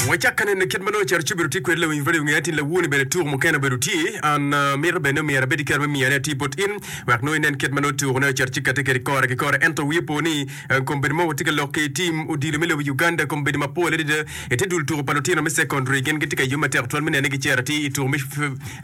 Wacak ka neno kit ma nongo ocito ci obedo tye kwede lawiny radio nge atin lawoni bene tuko mukene obedo tye an uh, mito bene omyero abed ki kare me miyone atir bot in wek nongo inen kit ma nongo tuko ne ocito ci kate kwede kore ki kore ento wiye po ni uh, kombeddi mo watye ka lok ki tim odilo me lobo Uganda kombeddi mapol adada ite dul tuko pa lutino me secondary gin gitye ka yub matek twal me nene gicero atir i tuko me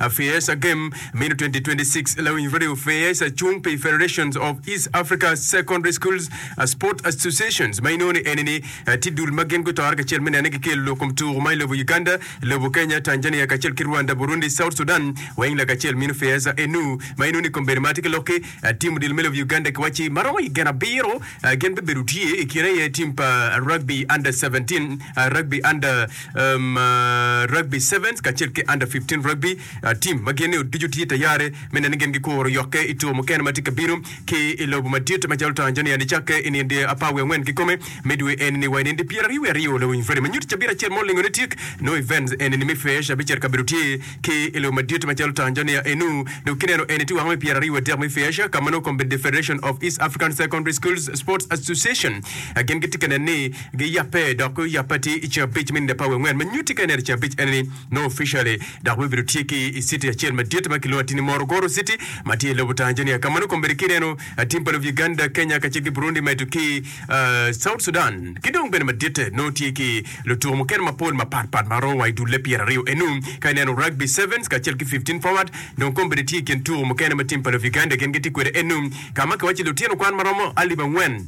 uh, FEASA game meno 2026 lawiny radio FEASA cung pi Federations of East Africa Secondary Schools uh, Sport Associations ma inongo ni eni ni Tye dul ma gin gutore kacel me nene gikelo lok kom tuku ma i lobo Uganda, lobo Kenya, Tanzania kacel ki Rwanda, Burundi, South Sudan weng lakacel mino Feaza enu ma inongo ni kombeddi ma atye ki lok-ki tim odilo me lobo Uganda kiwacci ma romo i gin abiro gin bibedo tye i kine aye tim pa rugby under 17, rugby under rugby sevens kacel ki under 15 rugby team ma gin ni ducu tye tayari me nene gin gikuro yokke i tuku mukene ma tye ka bino. ki i lobo madit macalo Tanzania nicakke i nindi apar wiye angwen kikome me dwe eni-ni wa i nindi pyeraryo wiye aryo lawiny Freddy ma nyuto cabit acel ma olingo ne tik nongo events eni-ni me Fesh abicel kabedo tye ki i lobo madit macalo Tanzania enu dong kineno eni tye wang me pyeraryo wiye adek me Fesh ka ma nongo kombeddi Federation of East African Secondary Schools Sports Association gin gitye ka neno ni giyabbe dok guyabbe atir i ceng abic me nindi apar wiye angwen ma nyutti ka ineno i ceng abic eni-ni nongo officially dok bibedo tye ki i citi acel madit ma kilwongo atir ni Morogoro City ma tye i lobo Tanzania ka ma nongo kombeddi kineno tim pa lobo Uganda, Kenya kacel ki Burundi medo ki South Sudan ki dong bene maditte nongo tye ki lutuko mukene mapol mapat pat ma romo wa i dulle pyeraryo enu. Ka ineno Rugby Sevens kacel ki 15 Forward dong kombeddi tye i kin tuko mukene ma tim pa lobo Uganda gin gitye kwede enu ka ma kiwaco lutino kwan ma romo alip angwen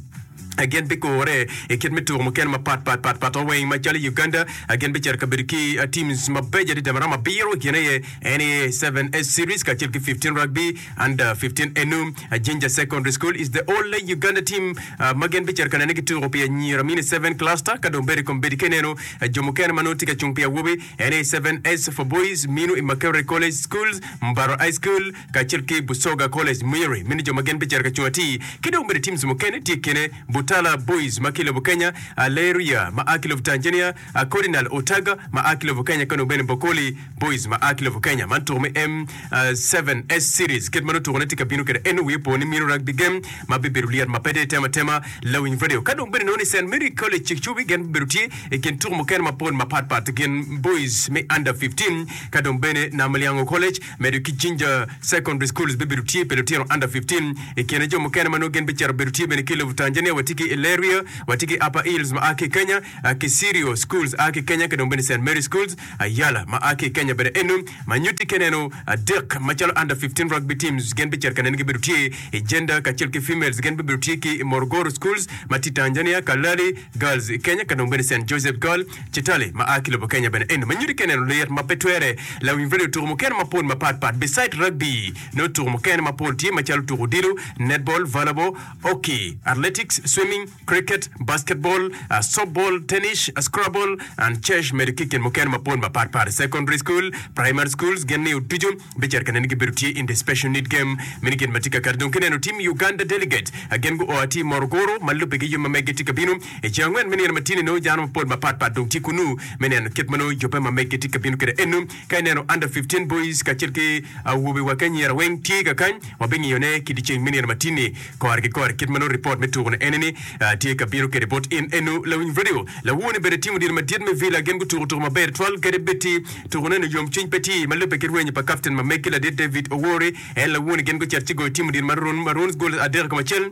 Gin bigure i kit me tuko mukene mapat pat pat pat weng macalo i Uganda. Gin bicito ka bedo ki teams mabeco adada ma romo abiro i kine aye NEA 7S Series kacel ki 15 Rugby Under 15 enu. Jinja Secondary School is the only Uganda team ma gin bicito ka nene gituko pi anyira mini 7 cluster ka dong bedo i kom bedi ka ineno jo mukene ma nongo tye ka cung pi awobi NEA 7S for boys mino i Makerere College Schools, Mbarara High School, kacel ki Busoga College Mwiri meno jo ma gin bicito ka cung atir ki dong bene teams mukene tye i kine Butala Boys ma ki i lobo Kenya, Aleria ma a ki lobo Tanzania, Cardinal Otaga ma a ki lobo Kenya ki dong bene Bokoli Boys ma a ki lobo Kenya. Man tuko me M7S Series kit ma nongo tukone tye ka bino kwede eno wiye opo ni mino rugby game ma bibedo lyet ma pe dong itemo atema lawiny radio ka dong bene nongo ni Saint Mary College Cikcubi gin bibedo tye i kin tuko mukene mapol mapat pat gin boys me under 15 ka dong bene Namulyango College Medo ki Jinja Secondary Schools bibedo tye pi lutino under 15. I kine jo mukene ma nongo gin bicito bedo tye bene ki i lobo Tanzania watye ki Ileria, watye ki Upper Hills ma a ki i Kenya, Kisirio Schools a ki i Kenya ki dong bene Saint Mary Schools Ayala ma a ki i Kenya bene eno ma nyutti ki neno adek macalo under 15 rugby teams gin bicito ka neno gibedo tye i Gender kacel ki Females gin bibedo tye ki i Morogoro Schools ma tye i Tanzania, Kalali Girls i Kenya ka dong bene Saint Joseph Girl Chitale ma a ki lobo Kenya bene eno ma nyuto ki neno lit ma pe twere. Lawiny radio tuko mukene mapol mapat pat beside rugby nongo tuko mukene mapol tye macalo tuko odilo, netball, volleyball, hockey, athletics, swimming, cricket, basketball, softball, tennis, scrabble and chess medo ki kin mukene mapol mapat pat. Secondary school, primary schools gin ni ducu bicito ka neno gibedo tye in the special need game meno gin ma tye kakare. Dong kineno team Uganda delegate gin guo atir Morogoro ma lubbe ki yub ma meggi tye ka bino. I ceng angwen me nino ma tye-ni nongo dano mapol mapatpat dong tye kunnu me neno kit ma nongo yubbe ma meggi tye ka bino kwede. Eno ka ineno Under 15 Boys kacel ki awobe wa ki anyira weng tye kakany, wabingiyone ki dyeceng me nino ma tye-ni kore ki kore kit ma nongo ripot me tuko-ni ene-ni tye ka bino kwede bot in. Eno lawiny radio lawor-ni bene timo diro madit me Villa gin gutuko tuko maber twal kadi bed ti tukone-ni yomcwiny pe tye ma lubbe ki rwenyo pa kapten ma meggi ladit David Owori. En lawor-ni gin gucito ci goyo timo diro Maroons gol adek i kom acel.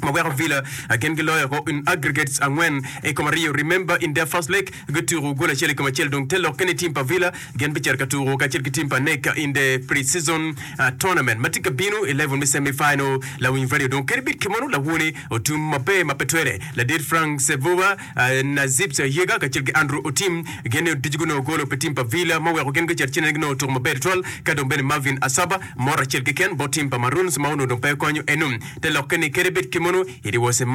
ma weko Villa gin giloyo ko in aggregates angwen i kom aryo. Remember in their first leg gutuko gol acel i kom acel dong te lokke ni team pa Villa gin bicito ka tuko kacel ki team pa NEC in the pre-season tournament ma tye ka bino i level me semi-final. Lawiny radio dong kadi bed kimono lawoni otum maber ma pe twere. Ladit Frank Sevuba, Nazib Sayega kacel ki Andrew Otim gin ni ducu gunongo golo pi team pa Villa ma oweko gin gucito ci ginongo tuko maber tutwal ka dong bene Marvin Asaba mot acel keken bot team pa Maroons ma onongo dong pe okonyo eno. Te lokke ni kadi bed kimono, it was a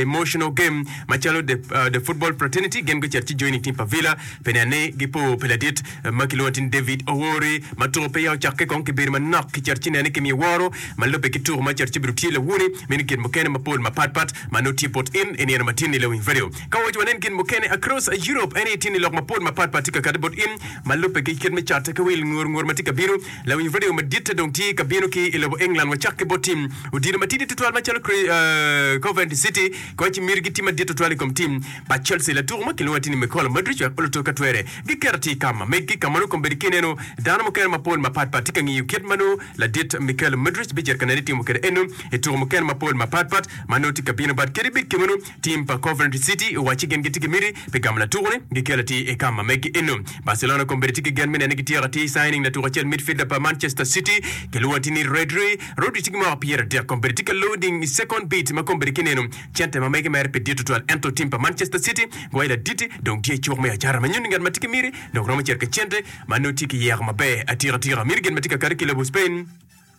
emotional game macalo the, uh, the football fraternity gin gucito ci joining team pa Villa pi neno ni gipo pi ladit ma kilwongo ni David Owori ma tuko peya ocakke kong kibedo manok kicito ci nene kimiyo woro ma lubbe ki tuko ma cito ci bedo tye lawoni meno gin mukene mapol mapat pat ma nongo tye bot in i nino ma tye ni lawiny radio ka waco wanen gin mukene across Europe en aye tye ni lok mapol mapat pat tye ka kati bot in ma lubbe ki kit me catte ki wil ngur ngur ma tye ka bino Lawiny redio maditte dong tye ka bino ki i lobo England wacak ki bot tim odilo matidi tutwal macalo Coventry City koc miti gitye madit tutwal i kom tim pa Chelsea. Latuko ma kilwongo atir ni Mykola Mudryk wek oluto ka twere giketo atir ka ma meggi ka ma nongo kombeddi ki ineno dano mukene mapol mapat pat tye ka ngiyo kit ma nongo ladit Mykhailo Mudryk bicito ka nene timo kwede eno i tuko mukene mapol mapat pat ma nongo tye ka bino but kadi bed kemeno Tim pa Coventry City owacci gin gitye ki miti pi gamo latuko-ni gikelo atir i kam ma meggi eno. Barcelona kombeddi tye ki gen me neno ni gityeko atir signing latuko acel midfielder pa Manchester City kilwongo atir ni Rodri. Rodri tye ki mwaka 30 kombeddi tye ka loading i second beat ma kombeddi kineno cente ma mege mere pe dit tutwal ento tim pa Manchester City gwayo laditi dong tye i cuk me acara ma nyuto ni ngat ma tye ki miti dong romo cito ki cente ma nongo tye ki yeko maber atika tika. Miti gin ma tye ka kati ki lobo Spain.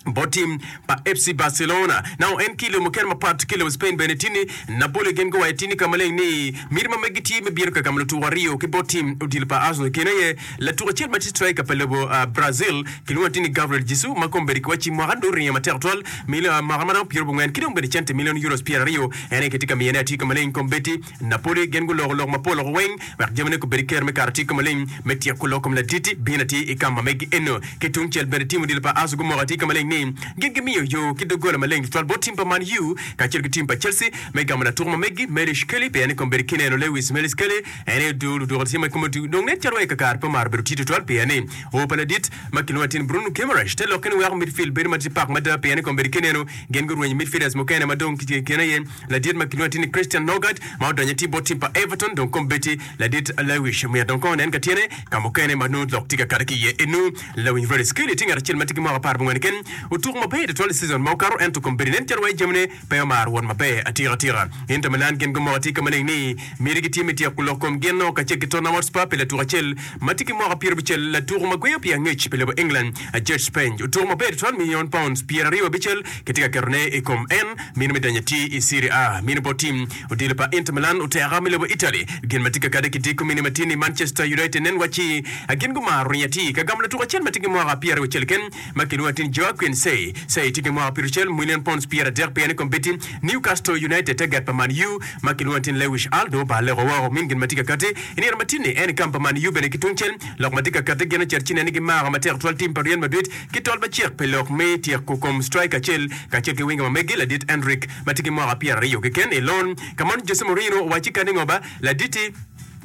Bot tim pa FC Barcelona. Nao en ki i lobo mukene mapat ki i lobo Spain bene tye ni Napoli gin guwaco tye ni ka maleng ni miti ma meggi tye me bino ka gamo lutuko aryo ki bot tim odilo pa Arsenal. I kine aye latuko acel ma tye striker pa lobo Brazil kilwongo atir ni Gabriel Jesus ma kombeddi kiwacci mwaka dong oringo matek tutwal mwaka ma romo pyerabongwen ki dong bene cente milion euros pyeraryo en aye kitye ka miyone atir ka maleng kombeddi. Napoli gin guloko lok mapol loko weng wek jamine gubed ker me kato atir ka maleng me tyeko lok kom ladit-ti bino atir i kam ma megi eno. Ki tungcel bene tim odilo pa Arsenal gumoko atir ka maleng ni gin gimiyo yo ki doggola maleng tutwal bot tim pa Man U kacel ki tim pa Chelsea me gamo latuko ma megi Maurice Kelly pien ni kombeddi kineno Lewis Maurice Kelly en aye odul odwoko tye ma kome dong nen calo wa i kakare pe omaro bedo tye tutwal pien ni o pa ladit ma kilwongo atir ni Bruno Guimaraes te lokke ni weko midfield bedo ma tye pak mada pien ni kombeddi kineno gin gurwenyo midfielders mukene ma dong i kine aye Ladit ma kilwongo atir ni Christian Norgaard ma odonyo atir bot tim pa Everton dong kombeddi ladit Lewis myero dong kong onen ka tyene ka mukene ma nongo lok tye ka kato ki iye enu. Lawiny Rhodes Kelly tye ngat acel ma tye ki mwaka 14 keken otuko maber tutwal i season ma okato ento kombeddi nen calo wai jamine pe omaro wot maber atika tika. Inter Milan gin gumoko atir ka maleng ni miti gitye me tyeko lok kom gin no kacel ki Tottenham Hotspur pi latuko acel ma tye ki mwaka 50 latuko ma gweyo pi angec pi lobo England Djed Spence otuko maber tutwal million pounds 25 kitye ka ketone i kom en. Mino me donyo atir i Serie A. Mino bot tim odilo pa Inter Milan oteka me lobo Italy. Gin ma tye ka kade ki diko mine ma tye ni Manchester United nen wacci gin gumaro ringo atir ka gamo latuko acel ma tye ki mwaka 26 keken ma kilwongo atir ni Joaquin Sey. Sey tye ki mwaka 60, milion pounds 30 pien i kombeddi Newcastle United target pa Man U ma kilwongo atir ni Lewis Hall dong obaleko woko. Min gin ma tye ka kati i nino ma tye ni en i kam pa Man U bene ki tungcel lok ma tye ka kati gin ocito ci nen ni gimako matek twal tim pa Real Madrid Ki tol macek pi lok me tyeko kom striker acel kacel ki winga ma megi ladit Endrick ma tye ki mwaka 20 keken i loan ka mon Jose Mourinho owacci kadi ngo ba laditi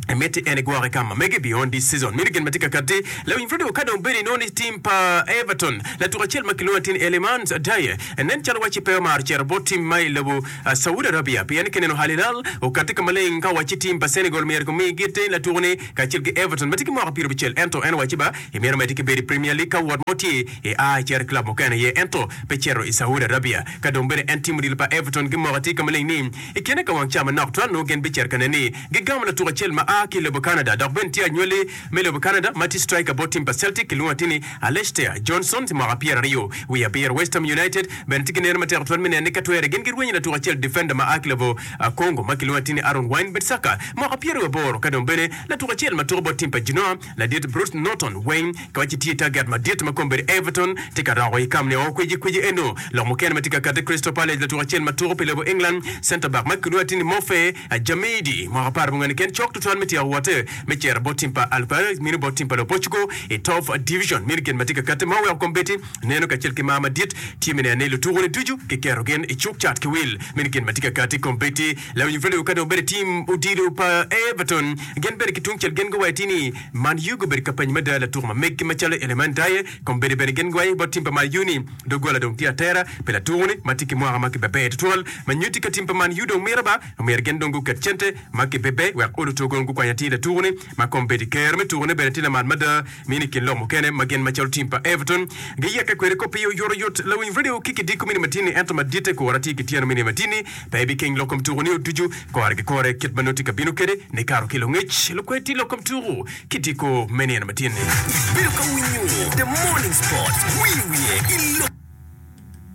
Emitti en igwoke ka ma megi beyond this season. Meno gin ma tye ka katti. Lawiny Fredo ka dong bedo inongo ni tim pa Everton latuko acel ma kilwongo atir ni Elimans Adaye nen calo wacci pe omaro cito bot tim ma i lobo Saudi Arabia pien kineno Al Hilal okatti ka maleng ka owacci tim pa Senegal myero gumi giti latuko-ni kacel ki Everton ma tye ki mwaka 50 ento en owacci ba Imito medde ki bedo i Premier League ka wot mo tye i a icito i club mukene aye ento pe cito i Saudi Arabia. Ka dong bene en timo odilo pa Everton gimoko atir ka maleng ni i kine ka wang ca manok twal nongo gin bicito ka neno ni gigamo latuko acel ma a ki i lobo Canada dok bene tye anywali me lobo Canada ma tye striker bot tim pa Celtic kilwongo atir ni Alistair Johnston tye mwaka 27. West Ham United bene tye ki neno matek twal me neno ni ka twere gin girwenyo latuko acel defender ma a ki lobo Congo ma kilwongo atir ni Aaron Wan-Bissaka mwaka 28 ka dong bene latuko acel ma tuko bot tim pa Genoa Ladit Bruce Norton weng ka wacci tye target madit ma kombeddi Everton tye ka roko i kam ni o kwiji kwiji eno. Lok mukene ma tye ka kati Crystal Palace latuko acel ma tuko pi lobo England center back ma kilwongo atir ni Mofe Jamidi mwaka apar mungwen keken cok tutwal me tyeko wote me cito bot tim pa Alvarez mino bot tim pa lobo Portugal i top division. Meno gin ma tye ka kati ma oweko kombeddi neno kacel ki mar madit tye me neno ni lutuko ni ducu ki keto gin i cuk cat ki wil. Meno gin ma tye ka kati kombeddi. Lawiny Fredo ka dong obedo i tim odilo pa Everton gin bene ki tungcel gin guwaco atir ni Man U gubedo ka penyo mada latuko ma meggi macalo Iliman Ndiaye. Kombeddi bene gin guwaco bot tim pa Man U ni doggola dong tye atera pi latuko-ni ma tye ki mwaka ma kibebe tutwal ma nyutti ka tim pa Man U dong mito ba omyero gin dong guket cente ma kibebe wek oluto gong gukwany atir latuko-ni ma kombeddi kero me tukone bene tye lamal mada. Mini i kin lok mukene ma gin macalo tim pa Everton giyeke kwede kop iye oyotoyot. Lawiny redio ki kidiko mini matini ento maditte kura tye ki tyeno mini matini pe ibikeng lok kom tuku nio ducu kore ki kore kit ma nongo tye ka bino kwede nikato ki lungec lukwed tye lok kom tuku kidiko me nino matini. Ibedo ka winyo The Morning Sports wiye wiye i lok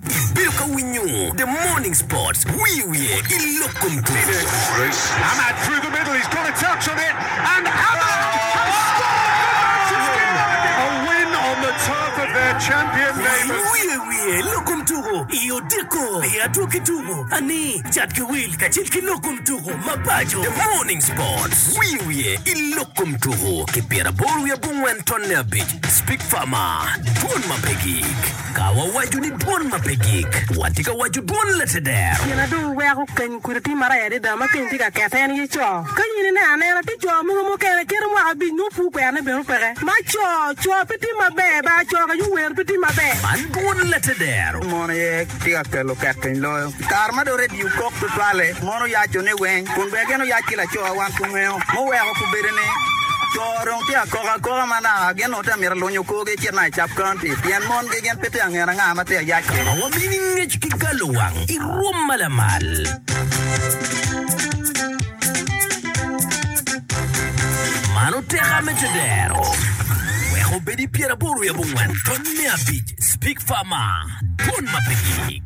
Ibedo ka winyo The Morning Sports wiye wiye i lok kom tuko. Amad through the middle, he's got a touch on it, and Amad has scored for Manchester United! A win on the turf of their champion neighbours. Wiye wiye lok kom tuko. tuku i odiko pi adwogi tuku ani, cat ki wil kacel ki lok kom tuku ma paco. The Morning Sports, Wiye wiye i lok kom tuku ki pyeraboro wiye abongwen tonne abic, Speak Farmer, Dwon ma pe gik. Ka wawaco ni dwon ma pe gik, watye ka waco dwon lateder. Gin na dong weko keny kudi tye marac adada ma keny tye ka kete en aye co. Ka in ineno anena, tye co mogo mukene kite mwaka abic nongo pur kwerone bene peke. Ma co, co pe tye maber ba, co ka yuwer pe tye maber. Man dwon lateder. Mon aye tye ka kelo ket piny loyo. I kare ma dong redio kok tutwalle, mon oyaco ni weng, kun bene gin oyac ki laco wan pe wangeyo. Muweko kubedo ni, co dong tye ka kok akoka ma naka gin onongo tye ka mito lunyo korgi ecit naka i Cap County pien mongi gin pe tye ka ngene anga ma tye ka yac kwede. Ma wamini ngec ki galo wang i rwom ma lamal. Man oteka me tedero. Wek obed i pyeraboro wiye abongwen tony me abic Speak Farmer, Dwon ma pe gik.